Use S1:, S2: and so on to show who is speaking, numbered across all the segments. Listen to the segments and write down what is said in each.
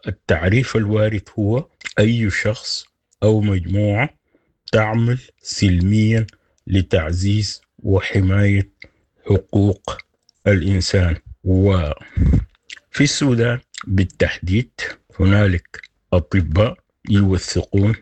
S1: والتعريف الوارد هو اي شخص او مجموعة تعمل سلميا لتعزيز وحماية حقوق الانسان. وفي السودان بالتحديد هنالك اطباء يوثقون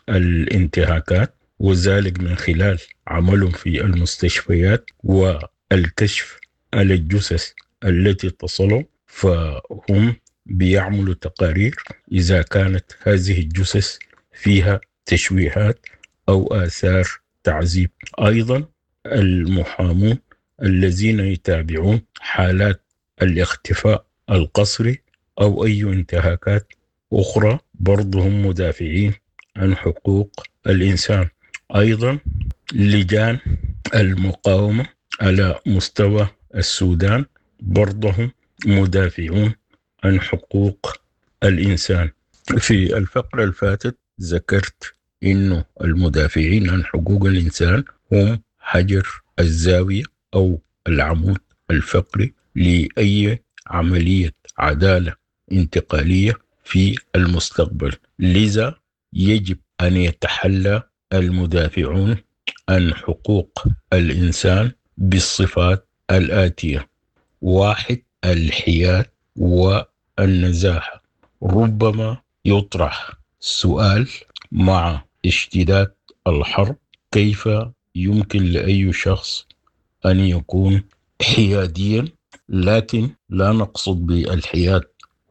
S1: الانتهاكات وذلك من خلال عملهم في المستشفيات والكشف على الجثث التي تصلهم، فهم بيعملوا تقارير إذا كانت هذه الجثث فيها تشويهات أو آثار تعذيب. أيضا المحامون الذين يتابعون حالات الاختفاء القسري أو أي انتهاكات أخرى برضهم مدافعين عن حقوق الإنسان. أيضا لجان المقاومة على مستوى السودان برضهم مدافعون عن حقوق الإنسان. في الفقرة الفاتت ذكرت إنه المدافعين عن حقوق الإنسان هم حجر الزاوية أو العمود الفقري لأي عملية عدالة انتقالية في المستقبل، لذا يجب أن يتحلى المدافعون عن حقوق الإنسان بالصفات الآتية: 1، الحياد والنزاهة. ربما يطرح سؤال مع اشتداد الحرب: كيف يمكن لأي شخص أن يكون حياديا؟ لكن لا نقصد بالحياد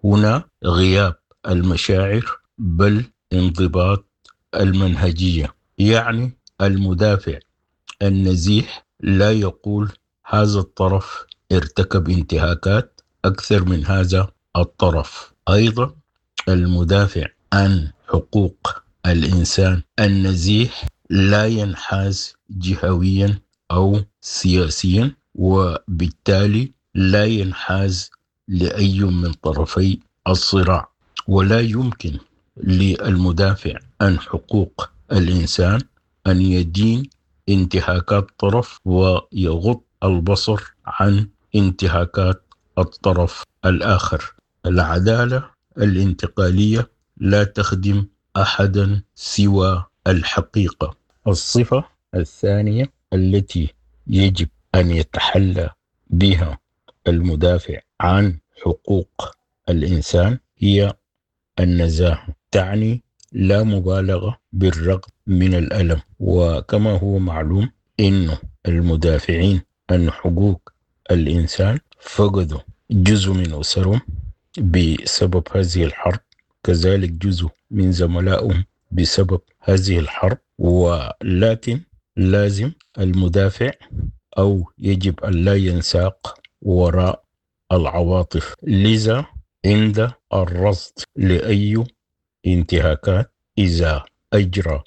S1: هنا غياب المشاعر، بل انضباط المنهجية. يعني المدافع النزيه لا يقول هذا الطرف ارتكب انتهاكات أكثر من هذا الطرف. أيضا المدافع عن حقوق الإنسان النزيه لا ينحاز جهويا أو سياسيا، وبالتالي لا ينحاز لأي من طرفي الصراع. ولا يمكن للمدافع عن حقوق الإنسان أن يدين انتهاكات طرف ويغض البصر عن انتهاكات الطرف الآخر. العدالة الانتقالية لا تخدم أحدا سوى الحقيقة. الصفة الثانية التي يجب أن يتحلى بها المدافع عن حقوق الإنسان هي النزاهة، تعني لا مبالغة بالرغم من الألم. وكما هو معلوم إنه المدافعين عن حقوق الإنسان فقدوا جزء من أسرهم بسبب هذه الحرب، كذلك جزء من زملائهم بسبب هذه الحرب. ولكن لازم المدافع أو يجب أن لا ينساق وراء العواطف، لذا عند الرصد لأي انتهاكات إذا أجرى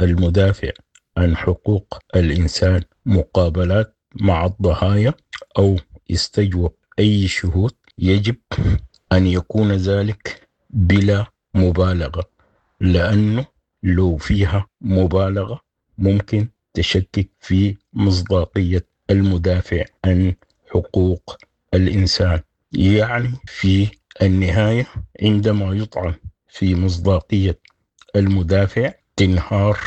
S1: المدافع عن حقوق الإنسان مقابلات مع الضحايا أو استجوب أي شهود، يجب أن يكون ذلك بلا مبالغة، لأنه لو فيها مبالغة ممكن تشكك في مصداقية المدافع عن حقوق الإنسان. يعني في النهاية عندما يطعن في مصداقية المدافع تنهار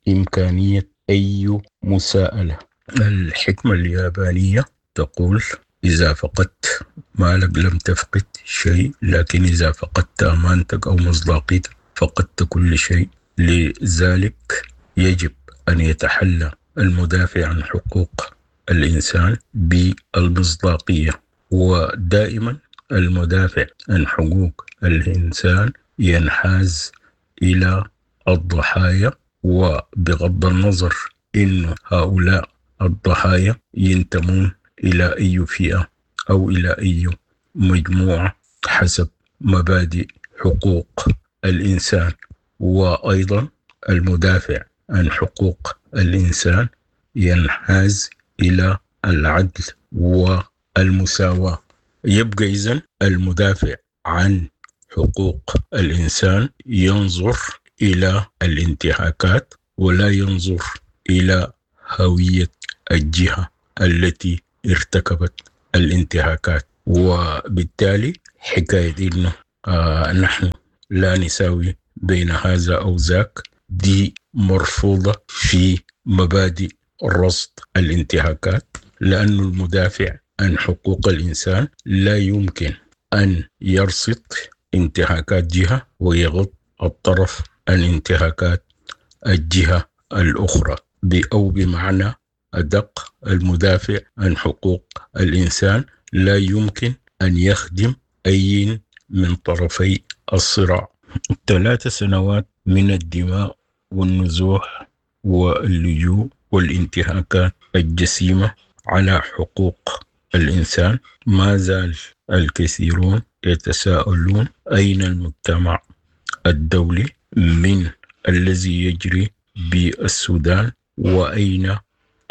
S1: إمكانية أي مساءلة. الحكمة اليابانية تقول: إذا فقدت مالك لم تفقد شيء، لكن إذا فقدت أمانتك أو مصداقيتك فقدت كل شيء. لذلك يجب أن يتحلى المدافع عن حقوق الإنسان بالمصداقية، ودائما المدافع عن حقوق الإنسان ينحاز إلى الضحايا، وبغض النظر إن هؤلاء الضحايا ينتمون إلى أي فئة أو إلى أي مجموعة حسب مبادئ حقوق الإنسان. وأيضا المدافع عن حقوق الإنسان ينحاز إلى العدل والمساواة. يبقى إذن المدافع عن حقوق الإنسان ينظر إلى الانتهاكات ولا ينظر إلى هوية الجهة التي ارتكبت الانتهاكات. وبالتالي حكاية إنه نحن لا نساوي بين هذا أو ذاك، دي مرفوضة في مبادئ رصد الانتهاكات، لأن المدافع عن حقوق الإنسان لا يمكن أن يرصد انتهاكات جهة ويغض الطرف عن انتهاكات الجهة الأخرى، أو بمعنى أدق المدافع عن حقوق الإنسان لا يمكن أن يخدم أي من طرفي الصراع. 3 سنوات من الدماء والنزوح واللجوء والانتهاكات الجسيمة على حقوق الإنسان، ما زال الكثيرون يتساءلون أين المجتمع الدولي من الذي يجري بالسودان وأين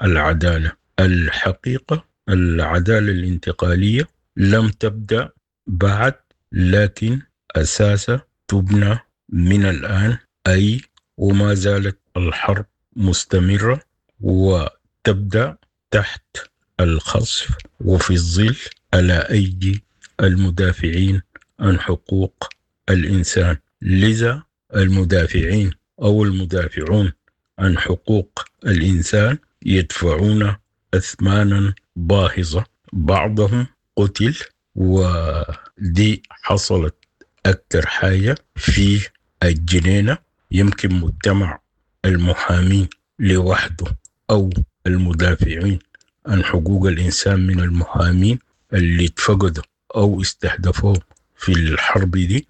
S1: العدالة؟ الحقيقة العدالة الانتقالية لم تبدأ بعد، لكن أساسها تبنى من الآن، أي وما زالت الحرب مستمرة وتبدأ تحت الخصف وفي الظل على أيدي المدافعين عن حقوق الإنسان. لذا المدافعين أو المدافعون عن حقوق الإنسان يدفعون أثمانا باهظة، بعضهم قتل، ودي حصلت أكثر حاجة في الجنينة. يمكن مجتمع المحامين لوحده أو المدافعين عن حقوق الإنسان من المحامين اللي اتفقدوا أو استهدفوه في الحرب دي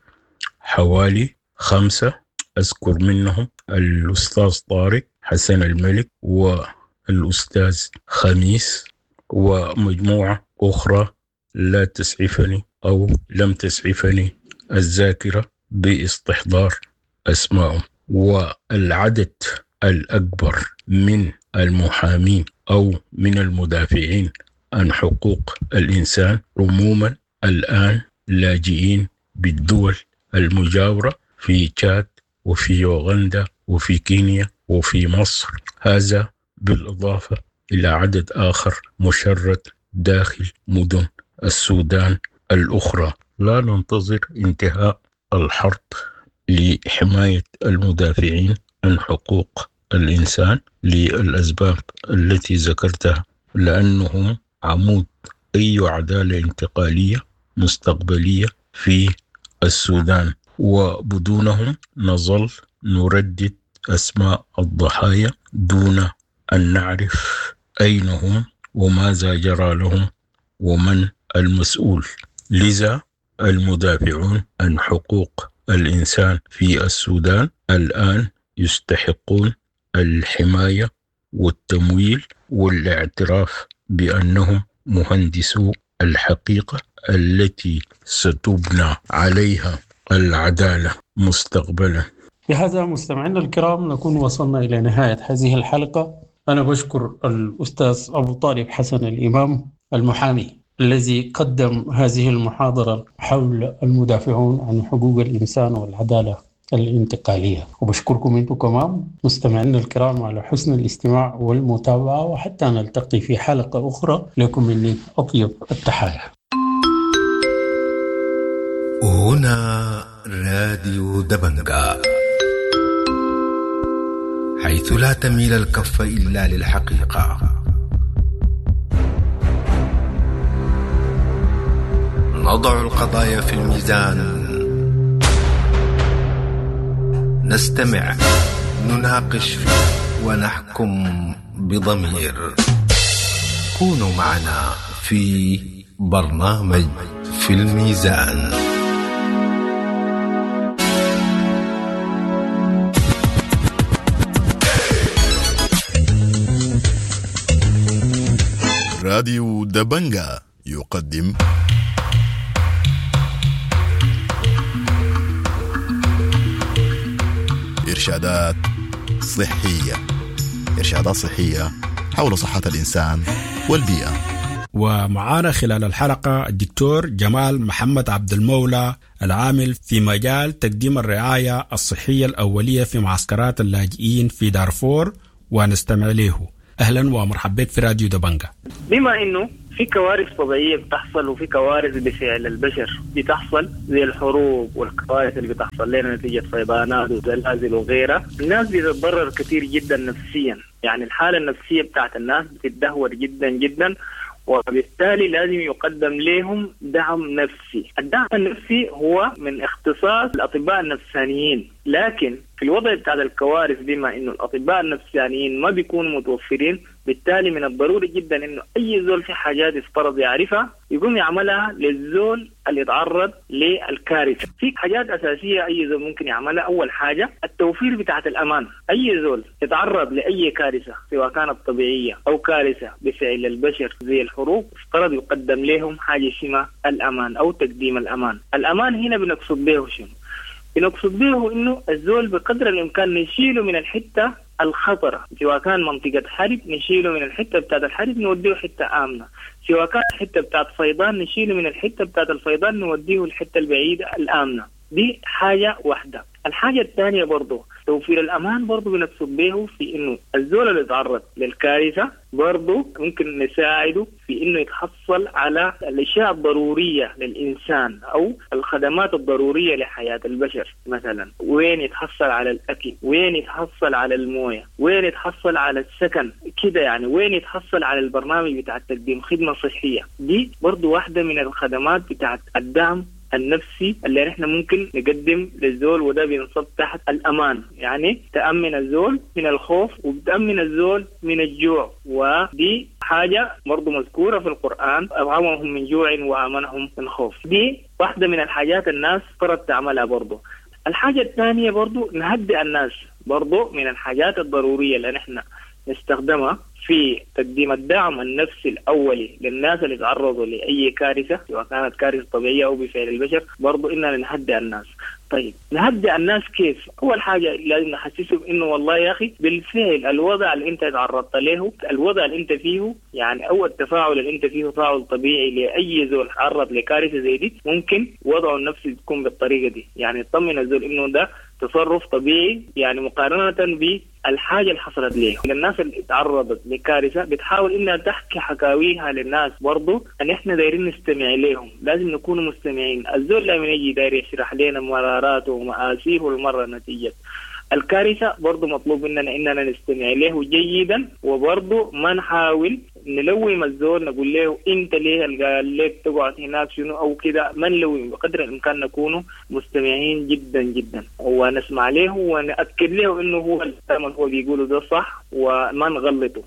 S1: حوالي 5، أذكر منهم الأستاذ طارق حسن الملك والأستاذ خميس ومجموعة أخرى لا تسعفني أو لم تسعفني الذاكرة باستحضار أسمائهم. والعدد الأكبر من المحامين أو من المدافعين عن حقوق الإنسان عموما الآن لاجئين بالدول المجاورة في تشاد وفي يوغندا وفي كينيا وفي مصر، هذا بالإضافة إلى عدد آخر مشرد داخل مدن السودان الأخرى. لا ننتظر انتهاء الحرب لحماية المدافعين عن حقوق الإنسان للأسباب التي ذكرتها، لأنهم عمود أي عدالة انتقالية مستقبلية في السودان، وبدونهم نظل نردد أسماء الضحايا دون أن نعرف أين هم وماذا جرى لهم ومن المسؤول. لذا المدافعون عن حقوق الإنسان في السودان الآن يستحقون الحماية والتمويل والاعتراف بأنهم مهندسو الحقيقة التي ستبنى عليها العدالة مستقبلا.
S2: بهذا مستمعينا الكرام نكون وصلنا إلى نهاية هذه الحلقة. أنا بشكر الأستاذ أبو طالب حسن الإمام المحامي الذي قدم هذه المحاضرة حول المدافعون عن حقوق الإنسان والعدالة الانتقالية، وبشكركم أنتم كمان مستمعينا الكرام على حسن الاستماع والمتابعة، وحتى نلتقي في حلقة أخرى. لكم مني أطيب التحايا.
S3: هنا راديو دبنجا، حيث لا تميل الكف إلا للحقيقة. نضع القضايا في الميزان، نستمع، نناقش، ونحكم بضمير. كونوا معنا في برنامج في الميزان.
S4: راديو دبنجا يقدم إرشادات صحية. إرشادات صحية حول صحة الإنسان والبيئة.
S5: ومعانا خلال الحلقة الدكتور جمال محمد عبد المولى العامل في مجال تقديم الرعاية الصحية الأولية في معسكرات اللاجئين في دارفور، ونستمع له. أهلا ومرحبا بك في راديو دبنجا.
S6: بما أنه في كوارث طبيعية بتحصل وفي كوارث بفعل البشر بتحصل، زي الحروب والكوارث اللي بتحصل لنا نتيجة فيضانات وزلازل وغيرها. الناس بتتضرر كثير جدا نفسيا، يعني الحالة النفسية بتاعت الناس بتتدهور جدا جدا، وبالتالي لازم يقدم لهم دعم نفسي. الدعم النفسي هو من اختصاص الأطباء النفسانيين، لكن في الوضع بتاع الكوارث بما إنه الأطباء النفسانيين ما بيكونوا متوفرين، بالتالي من الضروري جدا إنه أي زول في حاجات يفترض يعرفها يقوم يعملها للزول اللي يتعرض للكارثة. في حاجات أساسية أي زول ممكن يعملها. أول حاجة التوفير بتاعت الأمان. أي زول يتعرض لأي كارثة سواء كانت طبيعية أو كارثة بفعل البشر زي الحروب، افترض يقدم لهم حاجة اسمها الأمان أو تقديم الأمان. الأمان هنا بنقصد به شنو؟ بنقصد به إنه الزول بقدر الإمكان نشيله من الحتة الخطرة، سواء كان منطقة حرب نشيله من الحتة بتاعت الحرب نوديه حتة آمنة، سواء كان حتة بتاعت فيضان نشيله من الحتة بتاعت الفيضان نوديه الحتة البعيدة الآمنة. دي حاجة واحدة. الحاجة الثانية برضو توفير الأمان برضو بنقصد به في إنه الزول اللي يتعرض للكارثة برضو ممكن نساعده في إنه يتحصل على الأشياء الضرورية للإنسان أو الخدمات الضرورية لحياة البشر. مثلا وين يتحصل على الأكل، وين يتحصل على الموية، وين يتحصل على السكن كده، يعني وين يتحصل على البرنامج بتاع تقديم خدمة صحية. دي برضو واحدة من الخدمات بتاعت الدعم النفسي اللي نحن ممكن نقدم للزول، وده بينصب تحت الأمان. يعني تأمن الزول من الخوف وبتأمن الزول من الجوع، ودي حاجة برضو مذكورة في القرآن، أطعمهم من جوع وآمنهم من خوف. دي واحدة من الحاجات الناس فرض تعملها برضو. الحاجة الثانية برضو نهدئ الناس، برضو من الحاجات الضرورية اللي نحن نستخدمها في تقديم الدعم النفسي الأولي للناس اللي تعرضوا لأي كارثة سواء كانت كارثة طبيعية أو بفعل البشر، برضو إننا نهدئ الناس. طيب نهدئ الناس كيف؟ أول حاجة لازم نحسسهم إنه والله يا أخي بالفعل الوضع اللي أنت تعرضت له، الوضع اللي أنت فيه، يعني أو التفاعل اللي أنت فيه تفاعل طبيعي لأي زول تعرض لكارثة زي دي، ممكن وضعه النفسي تكون بالطريقة دي. يعني تطمن الزول إنه ده تصرف طبيعي، يعني مقارنة بالحاجة اللي حصلت ليه. الناس اللي تعرضت لكارثة بتحاول إنها تحكي حكاويها للناس، برضو أن إحنا دايرين نستمع لهم، لازم نكون مستمعين. الزول لما يجي داير يشرح لنا مراراته ومآسيه والمرة نتيجة الكارثة، برضو مطلوب مننا إننا نستمع له جيدا، وبرضو ما نحاول نلوم الزول نقول له انت ليه قال لك تقعد هناك شنو او كده، ما نلوم، بقدر الامكان نكون مستمعين جدا جدا ونسمع له ونأكد له انه هو الكلام اللي هو بيقوله ده صح وما نغلطه.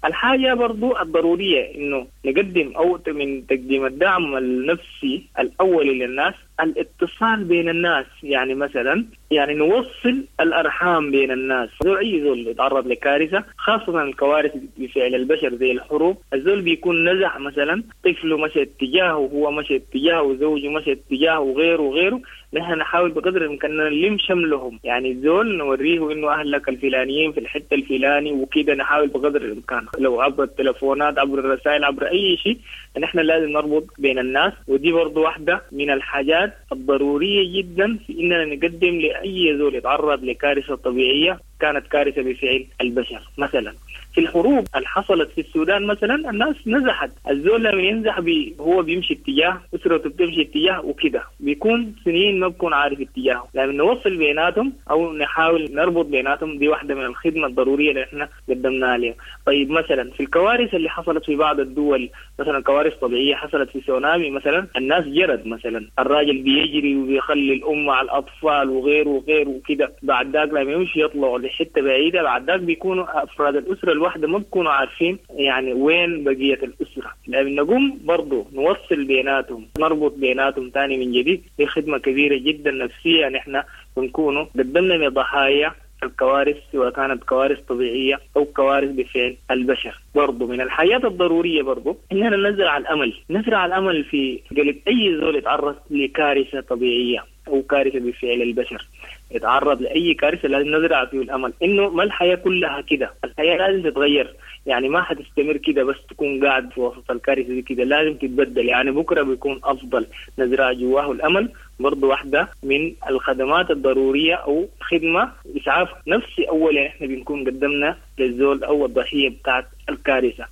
S6: الحاجة برضو الضرورية إنه نقدم أو من تقديم الدعم النفسي الأولي للناس الاتصال بين الناس، يعني مثلا يعني نوصل الأرحام بين الناس. أي زول يتعرض لكارثة، خاصة الكوارث بفعل البشر زي الحروب، الزول بيكون نزح مثلا طفله مشى اتجاهه وهو مشى اتجاهه وزوجه مشى اتجاهه وغيره وغيره. نحن نحاول بقدر الإمكان نلم شملهم، يعني الزول نوريه إنه أهلك الفلانيين في الحتة الفلاني وكده، نحاول بقدر الإمكان لو عبر التلفونات عبر الرسائل عبر أي شيء، نحن لازم نربط بين الناس. ودي برضو واحدة من الحاجات الضرورية جدا في إننا نقدم لأي زول يتعرض لكارثة طبيعية كانت كارثة بفعل البشر. مثلا في الحروب اللي حصلت في السودان مثلا الناس نزحت، الزول لما ينزح هو بيمشي اتجاه، أسرته بتمشي اتجاه وكده، بيكون سنين ما بيكون عارف اتجاهه. لما نوصل بيناتهم أو نحاول نربط بيناتهم، دي واحدة من الخدمة الضرورية اللي احنا قدمناها لهم. طيب مثلا في الكوارث اللي حصلت في بعض الدول، مثلا كوارث طبيعية حصلت في سونامي مثلا، الناس جرت مثلا، الراجل بيجري وبيخلي الأم على الأطفال وغيره وغيره وكده، بعد ذاك لما يمشي يطلعوا لحتة بعيدة، بعد ذاك بيكونوا أفراد الأسرة الواحدة ما بيكونوا عارفين يعني وين بقية الأسرة. لما نقوم برضو نوصل بيناتهم، نربط بيناتهم تاني من جديد، دي خدمة كبيرة جدا نفسية نحن بنكونوا قدمنا لضحايا الكوارث، سواء كانت كوارث طبيعية أو كوارث بفعل البشر. برضو من الحياة الضرورية برضو إننا نزرع الأمل، نزرع الأمل في قلب أي زول يتعرض لكارثة طبيعية أو كارثة بفعل البشر، يتعرض لأي كارثة لازم نزرع فيه الأمل إنه ما الحياة كلها كده، الحياة لازم تتغير، يعني ما حتستمر كده بس تكون قاعد في وسط الكارثة دي كده، لازم تتبدل، يعني بكرة بيكون أفضل. نزرع جواه الأمل برضو واحدة من الخدمات الضرورية أو خدمة إسعاف نفسي أول، يعني إحنا بنكون قدمنا للزول أو الضحية بتاعت الكارثة.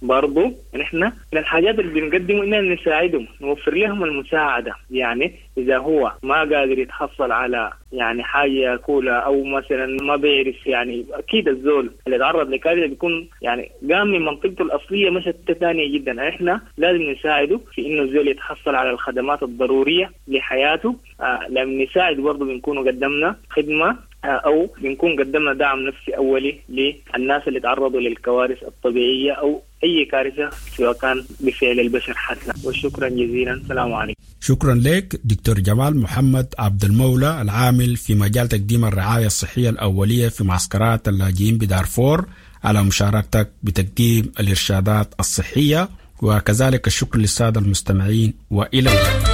S6: برضو نحن من الحاجات اللي بنقدمه اننا نساعدهم، نوفر لهم المساعدة. يعني اذا هو ما قادر يتحصل على يعني حاجة ياكلها او مثلا ما بيعرف، يعني اكيد الزول اللي تعرض لكارثه بيكون يعني قام من منطقته الاصلية مشى ثانية جدا. احنا لازم نساعده في انه الزول يتحصل على الخدمات الضرورية لحياته. لما نساعد برضه بنكون قدمنا خدمة او بنكون قدمنا دعم نفسي اولي للناس اللي تعرضوا للكوارث الطبيعية او اي كارثة سواء كان بفعل البشر حتى. وشكرا جزيلا، السلام عليكم.
S5: شكرا لك دكتور جمال محمد عبد المولى العامل في مجال تقديم الرعاية الصحية الأولية في معسكرات اللاجئين بدارفور على مشاركتك بتقديم الإرشادات الصحية، وكذلك الشكر للسادة المستمعين، وإلى اللقاء.